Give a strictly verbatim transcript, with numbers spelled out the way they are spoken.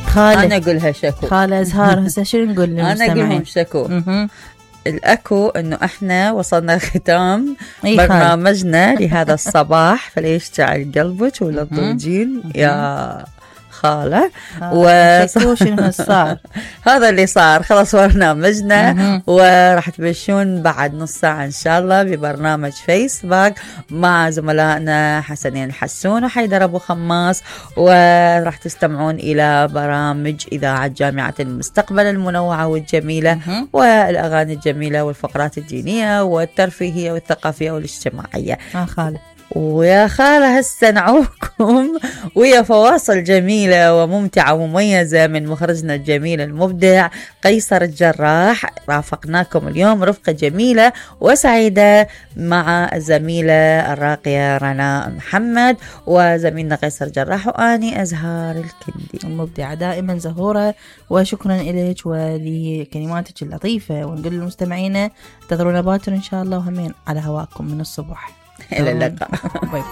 خالة انا اقولها شكو. خالة ازهار هسه شنو نقول للمستمعين؟ انا اقولهم شكو. الأكو أنه إحنا وصلنا ختام أي برنامجنا لهذا الصباح، فليشتعل قلبك ولا تضوجين يا خالة. وشكو شنو صار؟ هذا اللي صار، خلص برنامجنا وراح تبشون بعد نص ساعة إن شاء الله ببرنامج فيسبوك مع زملائنا حسنين الحسون وحيدر أبو خماس، وراح تستمعون إلى برامج إذاعة جامعة المستقبل المنوعة والجميلة والأغاني الجميلة والفقرات الدينية والترفيهية والثقافية والاجتماعية. آه خالة ويا خالة هسه نعوكم ويا فواصل جميلة وممتعة ومميزة من مخرجنا الجميل المبدع قيصر الجراح. رافقناكم اليوم رفقة جميلة وسعيدة مع الزميلة الراقية رنا محمد وزميلنا قيصر الجراح وآني أزهار الكندي المبدعة دائما زهورة، وشكرا إليك ولكلماتك اللطيفة. ونقول للمستمعين انتظرونا باكر إن شاء الله، وهمين على هواكم من الصبح. إلى اللقاء. باي باي.